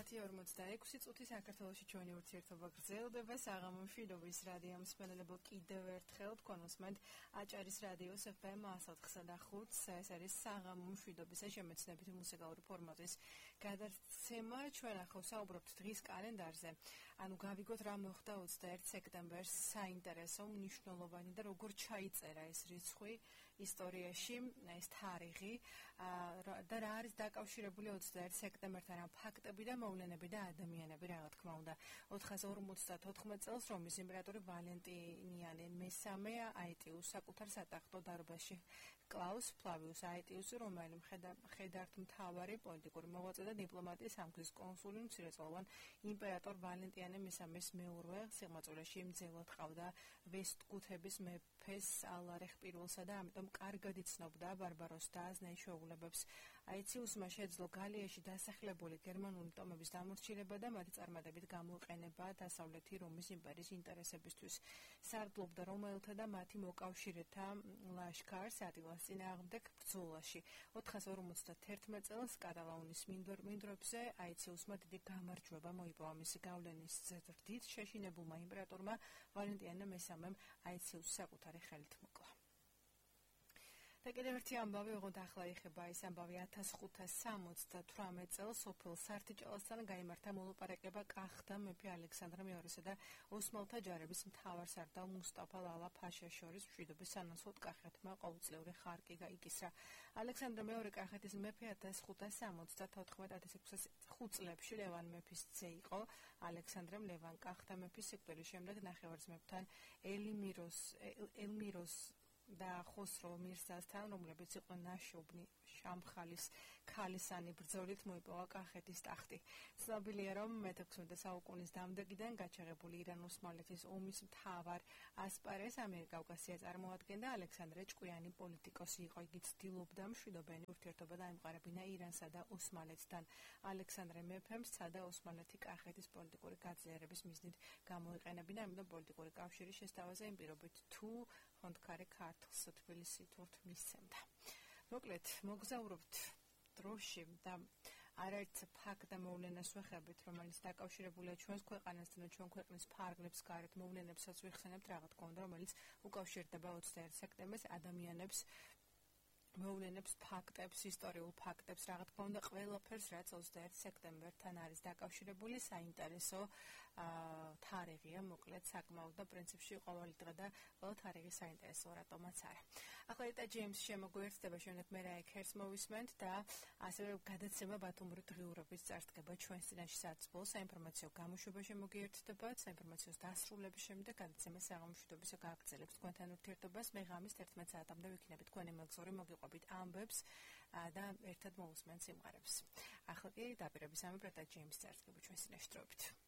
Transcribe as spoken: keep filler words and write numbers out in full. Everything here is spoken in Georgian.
ათი ორმოცდაექვსი წუთი საქართველოში ჩვენი ურთიერთობა გრძელდება. საღამო მშვიდობის რადიო მსმენელებო, კიდევ ერთხელ თქვენ უსმენთ აჭარის რადიოს ეფ ემ ათს ოთხსა და ხუთს. ეს არის საღამო მშვიდობის შემეცნებითი მუსიკალური ფორმატის გადაცემა. ჩვენ ახლა ვსაუბრობთ დღის კალენდარზე. ანუ გავიგოთ რა მოხდა ოცდაერთი სექტემბერს საინტერესო, მნიშვნელოვანი და როგორ ჩაიწერა ეს რიცხვი ისტორიაში, ეს თარიღი და რა არის დაკავშირებული ოცდაერთი სექტემბერთან, რა ფაქტები და მოვლენები და ადამიანები, რა თქმა უნდა. ოთხას ორმოცდათოთხმეტ წელს რომის იმპერატორი ვალენტინიანე მესამე აეტიუს საკუთარ სატახტო დარბაზში კლაუს ფლავიუს აეტიუსი, რომელიც მხედართმთავარი, პოლიტიკური მოღვაწე და დიპლომატი, სამგზის კონსული, მცირეწლოვან იმპერატორ ვალენტინიანე მესამეს მეურვე სიღმაწვილეში მძევლად ყავდა ვესტგუთების მეფეს ალარეხ პირველსა და ამიტომ კარგად იცნობდა ბარბაროს და აზნაის შეუღლებებს. აეტიუსმა შეძლო გალიაში დასახლებული გერმანული ტომების დამორჩილება და მათი წარმატებით გამოყენება დასავლეთი რომის იმპერიის ინტერესებისთვის. სარდლობდა რომაელთა და მათი მოკავშირეთა ლაშქარს ატილას წინააღმდეგ ბრძოლაში. ოთხას ორმოცდაერთმეტ წელს კატალაუნის მინდვრებზე აეტიუსმა დიდი გამარჯვება მოიპოვა. მისი გავლენის ზრდით შეშინებულმა იმპერატორმა ვალენტინიანე მესამემ აეტიუსს საკუთარი ხელით მოკლა. და კიდევ ერთი ამბავი, ოღონდ ახლა ეხება ეს ამბავი ათას ხუთას სამოცდათვრამეტ წელს სოფელ სართიჭალასთან გაიმართა მოლაპარაკება კახთა მეფე ალექსანდრე მეორესა და ოსმალთა ჯარების მთავარსარდალ მუსტაფა ლალა ფაშას შორის მშვიდობის სანაცვლოდ კახეთმა ყოველწლიური ხარკი გაიკისრა. ალექსანდრე მეორე კახეთის მეფე ათას ხუთას სამოცდათოთხმეტ ათას ექვსას ხუთ წლებში ლევან მეფის ძე იყო. ალექსანდრემ ლევან კახთა მეფის სიკვდილის შემდეგ ნახევარძმებთან ელმიროს ელმიროს და ხოსრო მირზასთან, რომლებიც იყვნენ ნაშოვნი შამხალის ქალისანი ბრძოლით მოიპოვა კახეთის ტახტი. ცნობილია, რომ მეთექვსმეტე საუკუნის დამდეგიდან გაჩაღებული ირან-ოსმალეთის ომის მთავარ ასპარეზს ამიერკავკასია წარმოადგენდა. ალექსანდრე ჭკვიანი პოლიტიკოსი იყო. იგი ცდილობდა მშვიდობიანი ურთიერთობა დაემყარებინა ირანსა და ოსმალეთთან. ალექსანდრე მეფემ სცადა ოსმალეთი კახეთის პოლიტიკური გაძლიერების მიზნით გამოიყენებინა, ამიტომ პოლიტიკური კავშირის შესთავაზე იმ პირობით თუ ხონდქარი ქართლს თბილისი თურთ მისცემდა. მოკლედ, მოგზაურობთ დროში და არაერთ ფაქტ და მოვლენას ვეხებით, რომელიც დაკავშირებულია ჩვენს ქვეყანასთან და ჩვენ ქვეყნის ფარგლებს გარეთ მოვლენებსაც ვიხსენებთ, რაღაც კონდა, რომელიც უკავშირდება ოცდაერთი სექტემბერს ადამიანებს, მოვლენებს, ფაქტებს, ისტორიულ ფაქტებს, რა თქმა უნდა, ყველაფერს, რაც ოცდაერთი სექტემბერთან არის დაკავშირებული, საინტერესო თარიღია, მოკლედ, საკმაოდ და პრინციპში ყოველი დღე და ყველა თარიღი საინტერესო, რატომაც არა. ახლა ეტა ჯეიმს შემოგვიერთდება, შემდეგ მე რა ექერს მოვისმენთ და ასევე გადაცემა ბათუმური დღიურობის წარსდგება ჩვენს წინაშე საათის ბოლოს საინფორმაციო გამოშვება შემოგიერთდება, საინფორმაციოს დასრულების შემდეგ გადაცემა საღამო მშვიდობისა გააგრძელებს თქვენთან ურთიერთობას. მე ღამის თერთმეტ საათამდე ვიქნებით თქვენი მეგზური მოგიყვებით ამბებს და ერთად მოусმენთ სიმღერებს. ახლა კი დაპირების ამბებით და ჯეიმს წარსდგება ჩვენს წინაშე დროებით.